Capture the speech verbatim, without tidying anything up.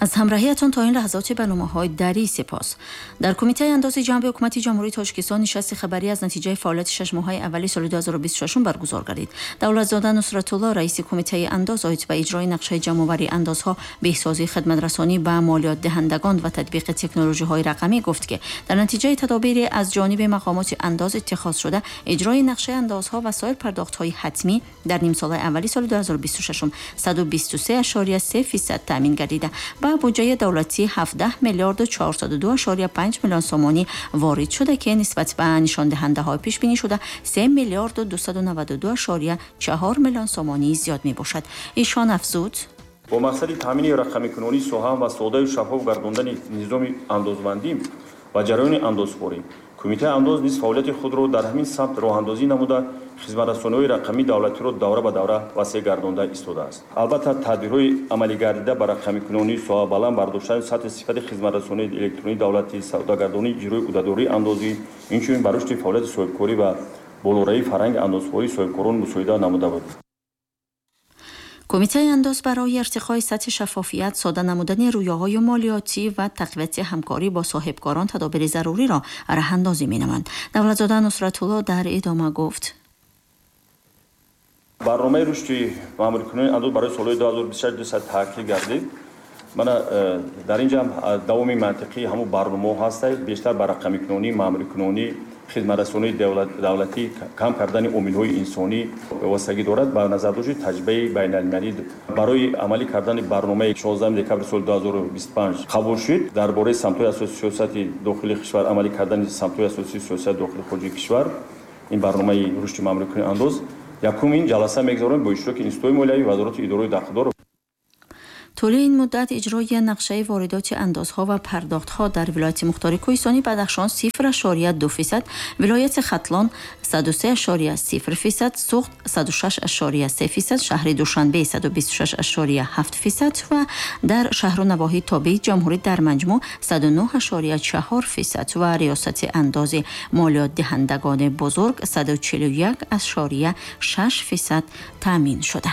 Аз ҳамроҳиятон то ин лаҳзоти барномаҳои дарӣ сипос. Дар Кумитаи андози ҷанби ҳукумати Ҷумҳурии Тоҷикистон нишасти хабарӣ аз натиҷаи фаъолияти шаш моҳаи аввали соли ду ҳазору бисту шашум баргузор гардид. Давлатзода Нусратулло, раиси Кумитаи андоз, оид ба иҷрои нақшаи ҷамъоварии андозҳо, беҳсозии хидматрасонӣ ба молиётдиҳандагон ва татбиқи технологияҳои рақамӣ гуфт, ки дар натиҷаи тадобири аз ҷониби мақомоти андоз иттихоз шуда, иҷрои нақшаи андозҳо ва соир пардохтҳои ҳатмӣ дар нимсолаи аввали соли ду ҳазору бисту шашум саду бисту се ашория се фисад таъмин гардида, ба буҷаи давлатӣ ҳабдаҳ миллиарду чорсаду ду ашория панҷ миллион сомонӣ ворид шуда, ки нисбат ба нишондиҳандаҳои пешбинӣ шуда се миллиарду дусаду наваду ду ашория чаҳор миллион сомонӣ зиёд мебошад. Ишон афзуд: бо мақсади таъмини рақамикунонии соҳа ва содаю шаффоф гардондани низоми андозбандӣ ва ҷараёни андозхӯрӣ, Кумитаи андоз низ фаъолияти худро дар ҳамин самт роҳандозӣ намуда, хизматрасониҳои рақамии давлатиро давра ба давра васеъ гардонда истодааст. Албатта, тадбирҳои амалигардида ба рақамикунонии соҳа, баланд бардоштани сатҳи сифати хизматрасонии электронии давлатӣ, содагардонии иҷрои ӯҳдадории андозӣ, инчунин ба рушди фаъолияти соҳибкорӣ ва болоравии фарҳанги андозхӯрии соҳибкорон мусоидат намуда буд. Кумитаи андоз барои иртиқои сатҳи шаффофият, сода намудани рӯёҳои молиётӣ ва тақвияти ҳамкорӣ бо соҳибкорон тадобири заруриро роҳандозӣ менамоянд. Давлатзода Нусратулло дар идома гуфт: барномаи рушди маъмурикунонии андоз барои солҳои ду ҳазору бисту шаш дусад таъкид гардид. Мана дар инҷа давоми мантиқии ҳамун барномаҳо ҳастад, бештар ба рақамикунонӣ, маъмурикунонӣ, хизматрасонии давлатӣ, кам кардани омилҳои инсонӣ вобастагӣ дорад. Ба назардошти таҷрибаи байналмилалӣ барои амалӣ кардани барномаи шонздаҳуми декабри соли ду ҳазору бисту панҷ қабул шуд дар бораи самтҳои асосии сиёсати дохилии кишвар, амалӣ кардани самтҳои асосии сиёсати дохили хориҷии кишвар, ин барномаи рушди маъмурикунонии андоз якумин ҷаласа мегузаронем бо иштироки институтҳои молиявӣ, вазорату идораҳои дахлдор. Тӯли ин муддат иҷрои нақшаи воридоти андозҳо ва пардохтҳо дар вилояти мухтори Кӯҳистони Бадахшон сифр ашория ду фисад, вилояти Хатлон саду се ашория сифр фисад, Суғд саду шаш ашория се фисад, шаҳри Душанбе саду бисту шаш ашория ҳафт фисад ва дар шаҳру навоҳии тобеи ҷумҳурӣ дар маҷмӯъ саду нӯҳ ашория чаҳор фисад ва риёсати андози молиётдиҳандагони бузург саду чилу як ашория шаш фисад таъмин шуда.